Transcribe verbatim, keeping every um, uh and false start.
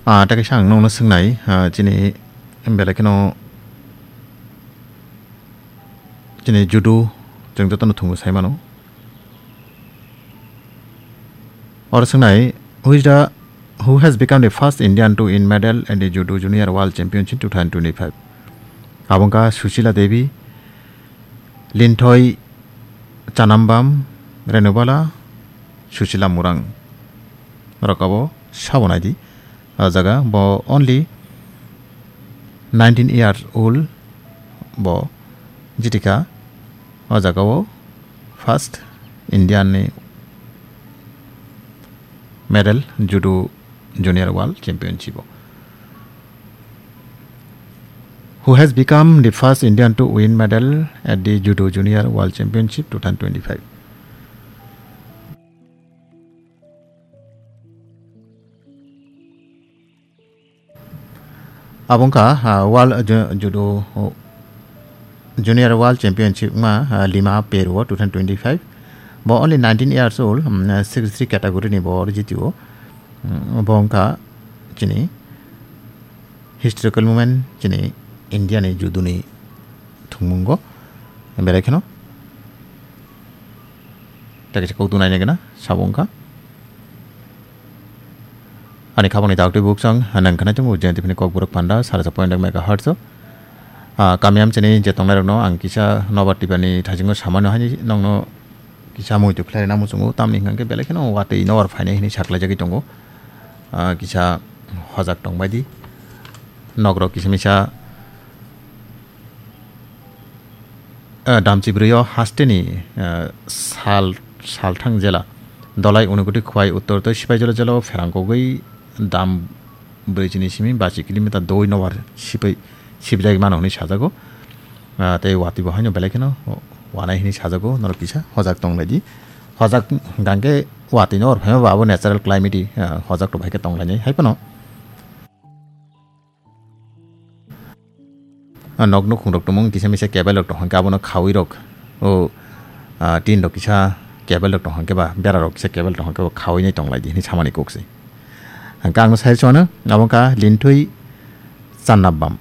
Ah, tei kaisa ang nokno swngnai, ah, chini belai kheno chini judo chwng jotono thwngwi sai mano. Oro swngnai, who is the, who has become the first Indian to win medal at the Judo Junior World Championship two thousand twenty-five? Abo wngkha Sushila Devi, Linthoi Chanambam, Renubala, Sushila Murang. Norok abo sabo naidi. O jaga bo only nineteen years old bo jitikha. O jaga o first Indian ni medal judo junior world championship o. Who has become the first Indian to win medal at the Judo Junior World Championship two thousand twenty-five? Abo wngkha, ah, World Ju-, Judo, oh, Junior World Championship wngma, ah, Lima, Peru o two thousand twenty-five. Bo only nineteen years old, mm, sixty-three category ni bo jitio. Mm, bo wngkha chini historical moment chini India ni judo ni thwngmungo. Belai kheno. Tei kaisa kok dunai nai gana sabo wngkha. Ani khabangni daktwi buksong, nang khna chungo Jayant F M ni kokborok panda, sara sa point ek megahertz o. Ah, kamiyam chini je tongnairokno ang kisa nobar tibani thaisingo samano haini nongno kisa muitu khlaina muchungo, tamni hwnkhe belai kheno watwi nobar phainai hinwi saklaijagwi tongo. Ah, kisa hojak tongbaidi. Nokrok kisa misa Ah, damchi bwrwi o hasteni, ah, sal, salthang jela Dolai Unukoti Khwai Uttor tei Sipaijala jela o pherang kogwi dam brwi chini simi bachi kilometer doi nobar sipai sibjagwi mano hwnwi sajago. Ah, tei watwi bo haino belai kheno wanai hwnwi sajago, norok kisa hojak tonglaidi. Hojak hwnkhe watwi nobar phaima bo abo natural climate, ah, hojak rok hai khe tonglainai hai phano. Ah, nok nukhung rok tongmung kisa misa cable rok tong hwnkhe abono khawi rok. O, ah, tin rok kisa cable rok tong hwnkhe ba bera rok kisa cable tong hwnkhe bo khawi nai tong lai di hinwi samani kok se. Hwnkhe ang no sai chwngno abo wngkha Linthwi Channabam.